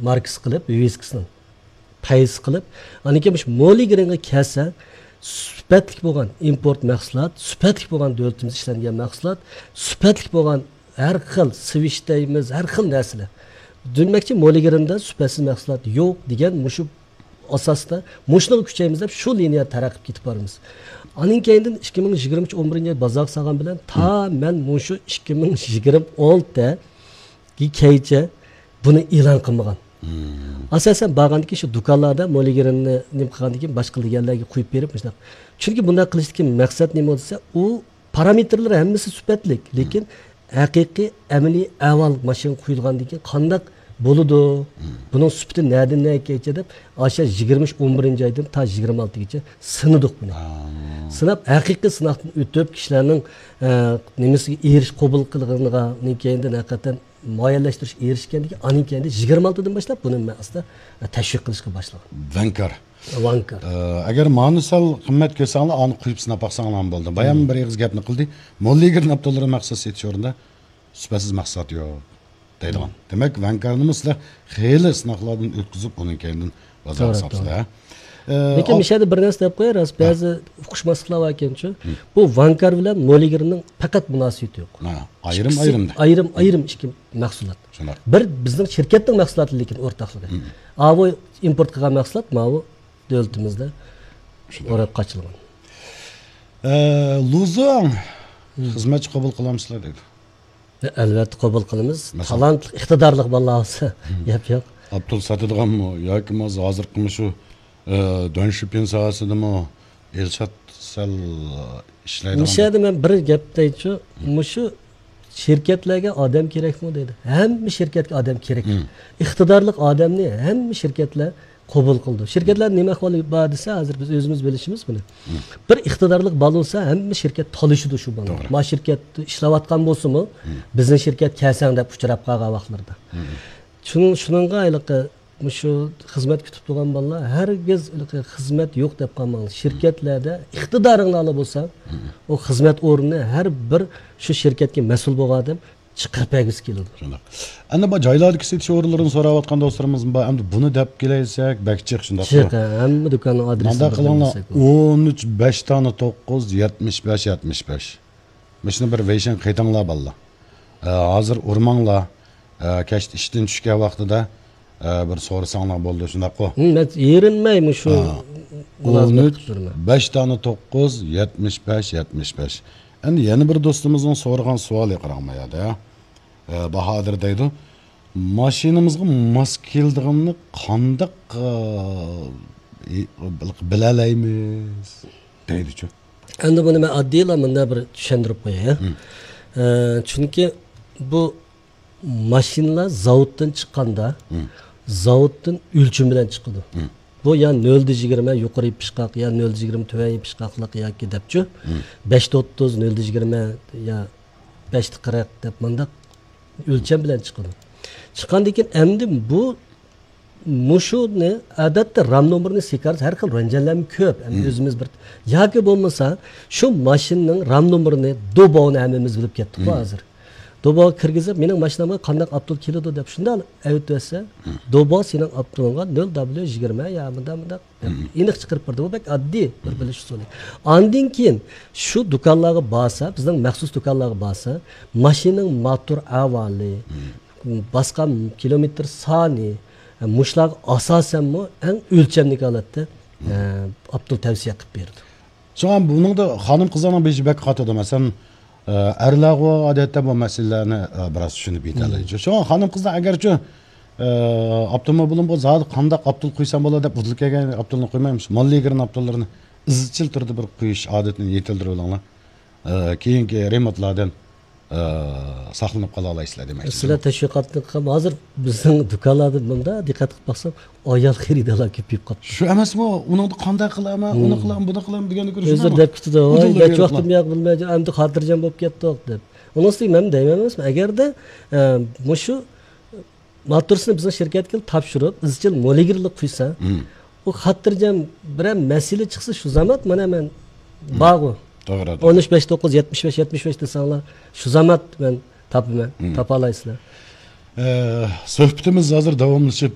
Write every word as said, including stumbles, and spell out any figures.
ماركىسى قىلىپ، ۋىۋىسكىسىنىڭ پەيزى قىلىپ، ئاندىن كېيىن مۇشۇ مولىگرىنغا كەلسە، سۈپەتلىك بولغان ئىمپورت مەھسۇلات، سۈپەتلىك بولغان دۆلىتىمىزدە ئىشلەنگەن مەھسۇلات، سۈپەتلىك بولغان ھەر خىل سۋىچ دەيمىز، ھەر خىل نەرسىلەر. دېمەكچى، مولىگرىندا سۈپەتسىز مەھسۇلات يوق دېگەن مۇشۇ ئاساستا، مۇشۇنىڭغا كۈچەيمىز دەپ شۇ لىنىيە تەرەققىي كېتىپ بارىمىز. ئاندىن كەينىدىن ئىككى مىڭ يىگىرمە ئۈچ ئون بىرىنچى يىل بازارغا سالغان بىلەن تا مەن مۇشۇ ئىككى مىڭ يىگىرمە ئالتە كەيچە بۇنى ئېلان قىلمىغان. ئاساسەن بارغاندىكىن شۇ دۇكانلاردا مولىگرىننى نېمە قىلغاندىكىن باشقا دېگەنلەرگە قويۇپ بېرىپ مۇشۇنداق. چۈنكى بۇنداق قىلىشتىكى مەقسەت نېمە دېسە، ئۇ پارامېتىرلىرى ھەممىسى سۈپەتلىك، لېكىن ھەقىقىي ئەمەلىي ئەھۋال ماشىنىغا قويۇلغاندىن كېيىن قانداق بولىدۇ؟ بۇنىڭ سۈپىتى نەدىن نەگىچە دەپ، ئاشۇ يىگىرمە ئۈچ ئون بىرىنچى ئايدىن تا يىگىرمە ئالتىگىچە سىنىدۇق بۇنى. سىناپ، ھەقىقىي سىناقتىن ئۆتۈپ، كىشىلەرنىڭ، ئە، نېمىسىگە ئېرىش-، قوبۇل قىلغىنىغا، ئۇنىڭ كەينىدىن ھەقىقەتەن مۇئەييەنلەشتۈرۈش ئېرىشكەندىن كېيىن، ئاندىن كەينىدە يىگىرمە ئالتىدىن باشلاپ بۇنى مەن ئاستا تەشۋىق قىلىشقا باشلىغان. ۋەنكار. ۋانكار. ئە، ئەگەر مانى سەل قىممەت كۆرسەڭلار، ئانى قويۇپ سىناپ باقساڭلارمۇ بولدى. بايام بىر ئېغىز گەپنى قىلدى. مولىگرىن ئاپتوللىرى مەخسۇس سېتىش ئورنىدا سۈپەتسىز مەھسۇلات يوق دەيدىغان. دېمەك، ۋەنكارنىمۇ سىلەر خېلى سىناقلاردىن ئۆتكۈزۈپ، ئۇنىڭ كەينىدىن بازارغا توغرا، ساپسىلەر، توغرا. ھە؟ ئە، لېكىن ئاپ- مۇشۇ يەردە بىر نەرسە دەپ قوياي، راست، ھە. بەزى ئۇقۇشماسلىقلار بار ئىكەنچۇ. ھە. بۇ ۋانكار بىلەن مولىگرىننىڭ پەقەت مۇناسىۋىتى يوق. ھە، ئايرىم، ئىككىسى ئايرىم. ئايرىم، ئايرىم ئىككى مەھسۇلات. شۇنداق. بىر بىزنىڭ شىركەتنىڭ مەھسۇلاتى، لېكىن ئورتاقلىقى. ھە. ئاۋۇ ئىمپورت قىلغان مەھسۇلات، ماۋۇ دۆلىتىمىزدە شۇنداق. ئورەك قاچىلىغان. ئە، لۇزۇڭ، ھە. خىزمەتچى قوبۇل قىلامسىلەر دەيدۇ. ئەلۋەتتە قوبۇل قىلىمىز. مەسىلەن؟ تالانتلىق، ئىقتىدارلىق بالىلار بولسا، ھە. گەپ يوق. ئاپتول ساتىدىغانمۇ ياكى بولمىسا ھازىرقى مۇشۇ، ئە، دۆنشۈپىن ساھەسىدىمۇ ئىلشات سەل ئىشلەيدىغان؟ مۇشۇ يەردە مەن بىر گەپ دەيچۇ، ھە. مۇشۇ شىركەتلەرگە ئادەم كېرەكمۇ دەيدۇ. ھەممە شىركەتكە ئادەم كېرەك. ھە. ئىقتىدارلىق ئادەمنى ھەممە شىركەتلەر قوبۇل قىلىدۇ. شىركەتلەر نېمە ئەھۋالى بار دېسە، ھازىر بىز ئۆزىمىز بىلىشىمىز بۇنى. ھە. بىر ئىقتىدارلىق بالا بولسا، ھەممە شىركەت تالىشىدۇ شۇ بالىنى. توغرا. ما شىركەتتە ئىشلەۋاتقان بولسىمۇ، ھە. بىزنىڭ شىركەت كەلسەڭ دەپ ئۇچراپ قالغان ۋاقىتلىرىدا. ھە. شۇنىڭ، شۇنىڭغا ھېلىقى مۇشۇ خىزمەت كۈتۈپ تۇرغان بالىلار ھەرگىز ھېلىقى خىزمەت يوق دەپ قالماڭلار. شىركەتلەردە ئىقتىدارىڭلارلا بولسا، ھە. ئۇ خىزمەت ئورنىنى ھەر بىر شۇ شىركەتكە مەسئۇل بولغان ئادەم چىقىرىپ بەرگۈسى كېلىدۇ. شۇنداق. ئەنە بۇ جايلاردىكى سېتىش ئورۇنلىرىنى سوراۋاتقان دوستلىرىمىز بار. ئەمدى بۇنى دەپ كېلەيسەك، بەك جىق شۇنداق. جىق، ھە، ھەممە دۇكاننىڭ ئادرېسىنى مۇنداق قىلىڭلار، بىلمىسەك بولىدۇ. ئون ئۈچ بەش دانە توققۇز يەتمىش بەش يەتمىش بەش. مۇشۇنى بىر ۋېيشىنغا قېتىڭلار، بالىلار. ئە، ھازىر ئۇرماڭلار. ئە، كەچتە ئىشتىن چۈشكەن ۋاقتىدا، ئە، بىر سورىساڭلار بولدى، شۇنداققۇ؟ ھە، مەن ئېرىنمەي مۇشۇ ھە. مۇلازىمەت ئون ئۈچ، قىلىپ تۇرىمەن. بەش دانە توققۇز، يەتمىش بەش، يەتمىش بەش. ئەمدى يەنە بىر دوستىمىزنىڭ سورىغان سوئالى، قاراڭ ما يەردە. ئە، باھادىر دەيدۇ، ماشىنىمىزغا ماس كېلىدىغىنىنى قانداق، ئە، بىلەلەيمىز؟ دەيدىچۇ. ئەمدى بۇنى مەن ئاددىيلا مۇنداق بىر چۈشەندۈرۈپ قوياي، ھە؟ ھە. ئە، چۈنكى بۇ ماشىنىلار زاۋۇتتىن چىققاندا، ھە. زاۋۇتتىن ئۆلچىمى بىلەن چىقىدۇ. ھە. بۇ يا نۆلدە يىگىرمە يۇقىرى يېپىشقاق، يا نۆلدە يىگىرمە تۆۋەن يېپىشقاقلىق ياكى دەپچۇ. ھە. بەشتە ئوتتۇز، نۆلدە يىگىرمە يا بەشتە قىرىق دەپ مۇنداق ئۆلچەم بىلەن چىقىدۇ. چىققاندىن كېيىن ئەمدى بۇ مۇشۇنى ئادەتتە رام نومۇرىنى سېكارز ھەر خىل رەنجەنلەرمۇ كۆپ. ئەمدى مم. ئۆزىمىز بىر ياكى بولمىسا شۇ ماشىنىنىڭ رام نومۇرىنى دوباۋنى ھەممىمىز بىلىپ كەتتۇققۇ مم. ھازىر. دوباۋغا كىرگۈزۈپ، مېنىڭ ماشىنامغا قانداق ئاپتول كېلىدۇ دەپ شۇنداق ئەۋېتىۋەتسە، مم. دوباۋ سېنىڭ ئاپتولۇڭغا نۆل دابليۇ يىگىرمە يا مۇنداق مۇنداق دەپ مم. ئېنىق چىقىرىپ بېرىدۇ. بۇ بەك ئاددىي بىر مم. بىلىش ئۇسۇلى. ئاندىن كېيىن شۇ دۇكانلارغا بارسا، بىزنىڭ مەخسۇس دۇكانلارغا بارسا، ماشىنىنىڭ موتور ئەھۋالى، مم. باسقان كىلومېتىر سانى، مۇشۇلارغا ئاساسەنمۇ ئەڭ ئۆلچەملىك ھالەتتە، ئە، ئاپتول تەۋسىيە قىلىپ بېرىدۇ. شۇڭا بۇنىڭدا خانىم-قىزلارنىڭ بېشى بەك قاتىدۇ. مەسىلەن، ئە، ئەرلەرغۇ ئادەتتە بۇ مەسىلىلەرنى، ئە، بىراز چۈشىنىپ يېتەلەيدۇ. شۇڭا خانىم-قىزلار ئەگەرچۇ، ئە، ئاپتوموبىلىم بولسا زادى قانداق ئاپتول قويسام بولىدۇ دەپ ئۇدۇل كەلگەن ئاپتولنى قويمايمىز. موللىگرېن ئاپتوللىرىنى ئىزچىل تۈردە بىر قويۇش ئادىتىنى يېتىلدۈرۈۋېلىڭلار. ئە، كېيىنكى رېمونتلاردىن ئى، ساقلىنىپ قالالايسىلەر دېمەكچى. سىلەر تەشۋىقاتنى قىلغان، ھازىر بىزنىڭ دۇكانلاردا مۇنداق دىققەت قىلىپ باقسام، ئايال خېرىدارلار كۆپىيىپ قاپتۇ. شۇ ئەمەسمۇ، ئۇنىڭدا قانداق قىلىمەن، ئۇنى قىلىمەن، بۇنى قىلىمەن دېگەننى كۆرۈشۈم ئۆزلىرى دەپ كېتىدۇ، ۋاي، نەچچە ۋاقتىم ياق بىلمەي، ئەمدى خاتىرجەم بولۇپ كەتتۇق دەپ. ئۇنىڭ ئۈستىگە مەن دەيمەن ئەمەسمۇ، ئەگەردە، ئە، مۇشۇ ماتورىسىنى بىزنىڭ شىركەتكە تاپشۇرۇپ، ئىزچىل مولىگرېنلىق قۇيسا، ئۇ خاتىرجەم بىرەر مەسىلە چىقسا، شۇ زامات مانا مەن بارغۇ. توغرا، توغرا. ئون ئۈچ بەش توققۇز يەتمىش بەش يەتمىش بەش دېسەڭلار، شۇ زامات مەن تاپىمەن، تاپالايسىلەر. ئە، سۆھبىتىمىز ھازىر داۋاملىشىپ